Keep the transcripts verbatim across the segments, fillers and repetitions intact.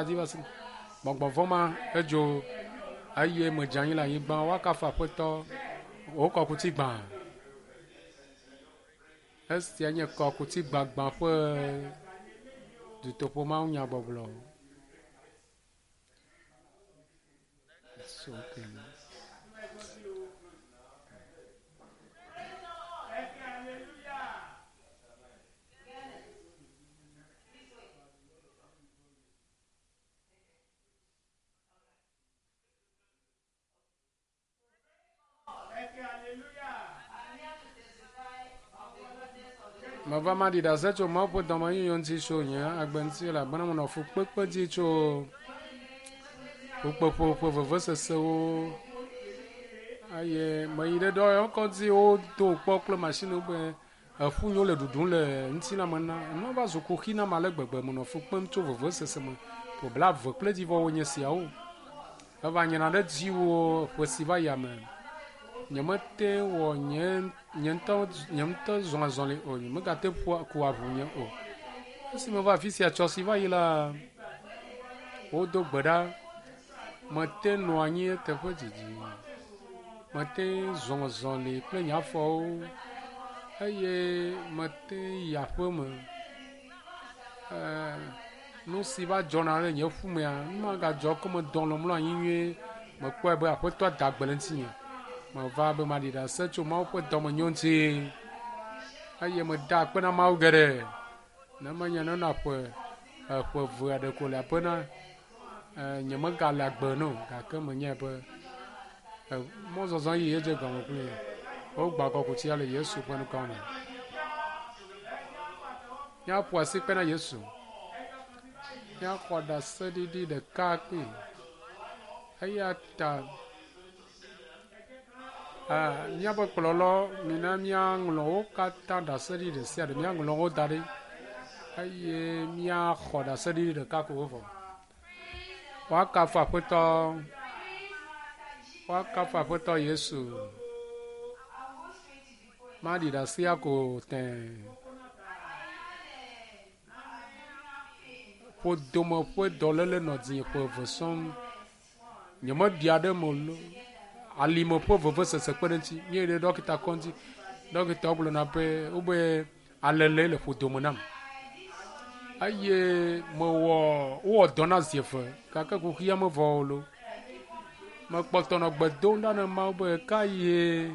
dzi va se gbɔgbɔ vɔ̃ ma edzo eye medze anyi le anyigba woakafu aƒetɔ wò kɔkuti gbã. Esia nye kɔkuti gbagbã ƒe dutoƒo mawunyagbɔgblɔ. So, okay. Meva maɖi ɖase tso Mawu ƒe dɔmenyonyo ŋuti tso nye agbe ŋuti elabena menɔ fukpekpe dzi tso fukpeƒo ƒe vevesesewo eye meyi ɖe dɔyɔkɔdzi wodo kpɔ kple mashiniwo be eƒu nyo le ɖuɖum le ŋutilãme na nua va zu kuxi nam ale gbegbe menɔ fu kpem tso vevesese me ƒe blaeve kple dzivɔwo nye siawo eva nyina ɖe dziwò ƒe si va yia me nyemete wɔ nye nye ŋutɔ nye ŋutɔ zɔ azɔli o nyemegate ƒua ku aʋu nye o esi meva afi sia tsɔ si va yi la wodo gbe ɖa mete nɔ anyi teƒe didi mete zɔ zɔli kple nye afɔwo eye mete yi aƒe me ɛɛ nu si va dzɔna ɖe nye ƒumea nu ma gadzɔ ko medɔ lɔ mlɔ anyi nyuie mekpɔe be aƒetɔ da gbe le ŋutinye meva be maɖi ɖase tso Mawu ƒe dɔmenyo ŋuti eye meda akpe na Mawu geɖe ne menye nena ƒe eƒe eve aɖe ko le aƒe na nyemegale agbe no gake menyae be mɔzɔzɔ yi edze gɔme kpli wogba kɔkutia le Yesu ƒe ŋkɔ me. Míaƒo asi kpe na Yesu. Míaxɔ ɖaseɖiɖi ɖeka kpli. Eya ta míaƒe kplɔlɔ mina míaŋlɔ wo katã ɖaseɖiɖi ɖe sia ɖe míaŋlɔ wo da ɖi eye míaxɔ ɖaseɖiɖi ɖeka ko evɔ. Woakafu aƒetɔ woakafu aƒetɔ Yesu. Maɖi ɖasea ko tẽe. Ƒodome ƒe dɔléle nɔ dzinye ƒe eve sɔŋ. Nyemeɖia ɖe eme o. Alime ƒe vevesese kpe ɖe ŋuti. Míeyi ɖe ɖɔkita kɔdzi. Ɖɔkitawo gblɔna be wobe alele le ƒodome nam. Eye mewɔ wowɔ dɔ na zi eve gake kuxia mevɔ o lo. Mekpɔtɔ nɔ gbe dom ɖa na Mawu be ka ye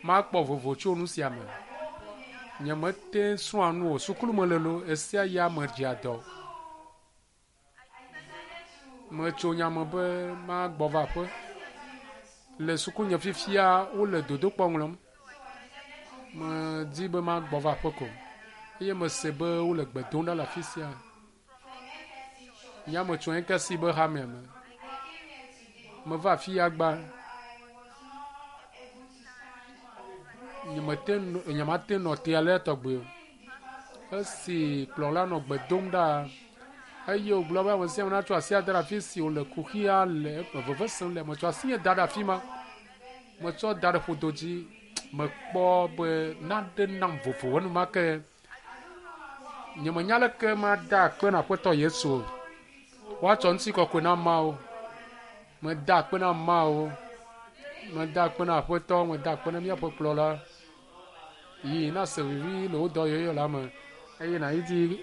makpɔ vovo tso nu sia me. Nyemete srɔ̃a nu o. Sukulu mele lo esia ya medzea dɔ. Metso nya me be magbɔ va aƒe. Le sukunye fifia wole dodokpɔ ŋlɔm. Medi be magbɔ va aƒe ko eye mese be wole gbe dom ɖa le afi sia. Nya metso Enkesi be hamea me. Meva afi ya gba. Nyemete nyemate nɔ te alea tɔgbi o. Esi kplɔla nɔ gbe dom ɖa eye wògblɔ be ame sia ame natsɔ asi ade ɖe afi si wòle kuxia le veve sem le. Metsɔ asinye da ɖe afi ma. Metsɔ da ɖe ƒodo dzi. Mekpɔ be nane nam vovo enumake. Nyemenya leke mada akpe na aƒetɔ Yesu o. Woatsɔ ŋutikɔkɔe na Mawu. Meda akpe na Mawu. Meda akpe na aƒetɔ. Meda akpe na míaƒe kplɔla. Yi nase vivi le wò dɔyɔyɔ la me eye nàyi dzi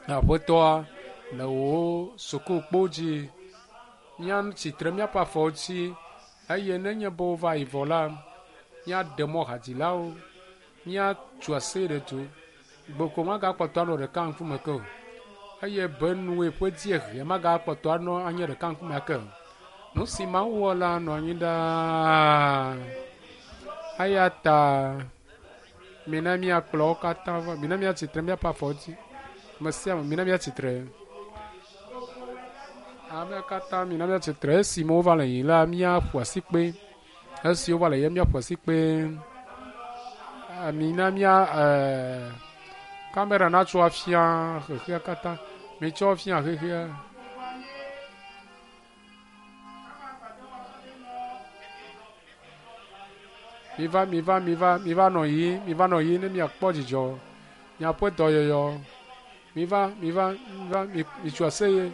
aƒetɔa le wò sukukpo dzi. Míatsitre míaƒe afɔwo dzi eye nenye be wova yi vɔ la, míaɖe mɔ hadzilawo, míatso asi ɖe du. Gboko magakpɔtɔ anɔ ɖeka ŋkume ke o eye benue ƒe dziehe magakpɔtɔ anɔ anye ɖeka ŋkume ake o. Nu si Mawu wɔ la nɔ anyi ɖaa. Eya ta mina míakplɔ wo katã va. Mina míatsitre míaƒe afɔwo dzi. Ame sia ame mina míatsitre. Amea katã mina míatsitre. Esime wova le yiyim la, míaƒo asikpe. Esi wova le yiyim míaƒo asikpe. Mina mía ɛɛ kamera natsɔ afia xexea katã. Mitsɔ fia xexea. Miva, miva, miva, miva nɔ yiyim, miva nɔ yiyim ne miakpɔ dzidzɔ. Miaƒe dɔyɔyɔ. Miva, miva, miva, mitso aseye.